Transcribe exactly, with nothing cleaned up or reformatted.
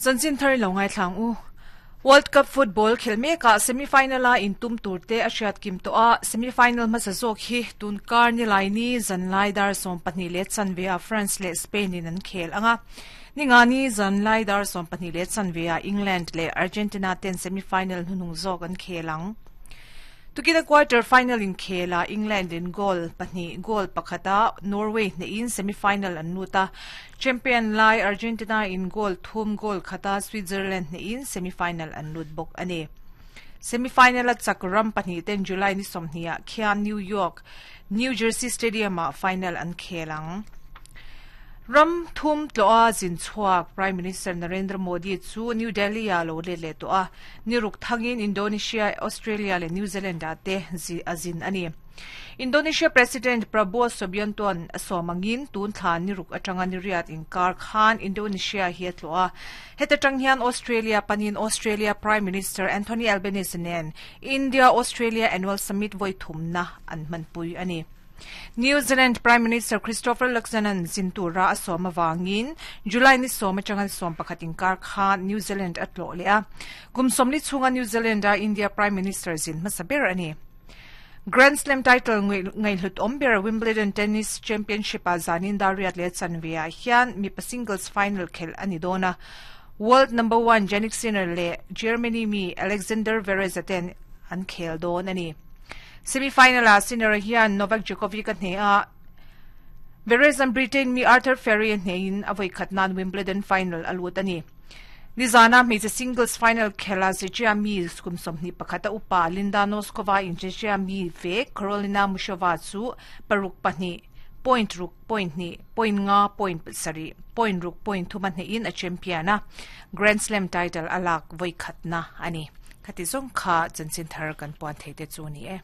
Chanchin thar lo ngai thlang u. World Cup football khel meka semi-final a intum turte a hriat kim to a semi-final hmasa zawk hi tun kar ni lai ni zanlai dar sawm pahnih leh chanve a France leh Spain in an khel anga ningani zanlai dar sawm pahnih leh chanve a England leh Argentina ten semi-final hnunung zawk an khel ang. Tukina quarter final in khela England in goal pahnih goal pakhata Norway ne in semi-final an luta champion lai Argentina in goal thum goal khata Switzerland ne in semi-final an lut bok ani. Semi-final a chakram pahnih ten July ni somhnia khian New York New Jersey Stadium a final an khelang. Ram thum tloa zin chuak Prime Minister Narendra Modi chu New Delhi a lo le le to a niruk thangin Indonesia, Australia le New Zealand a te zi azin ani. Indonesia President Prabowo Subianto an somangin tun thla niruk atanga niriat in kar khan Indonesia hi tloa heta tang hian Australia panin Australia Prime Minister Anthony Albanese nen India Australia Annual Summit voi thumna an manpui ani. New Zealand Prime Minister Christopher Luxon an zintura asoma wangin July ni soma changan som pakhatin kar khan New Zealand atlo le a kum somli chunga New Zealand a India Prime Minister zin masaber ani. Grand Slam title ngai hlut omber Wimbledon Tennis Championship a zanin dariat le chanvia hian mi pa singles final khel ani dona world number one Jannik Sinner le Germany mi Alexander Zverev ten an khel don ani. Semi-final a Sinner hian Novak Djokovic a hne a Zverev an Britain mi Arthur Fery hne in avoi khatnan Wimbledon final alut ani. Nizana mi singles final khela Czechia mi skum somni pakhata upa Linda Noskova in Czechia mi ve Karolina Muchova chu paruk pahnih point ruk point ni point nga point sari point ruk point thuma hne in a champion a Grand Slam title alak voi khatna ani. Khati zong kha chanchin thar kan puan theite chu ni e.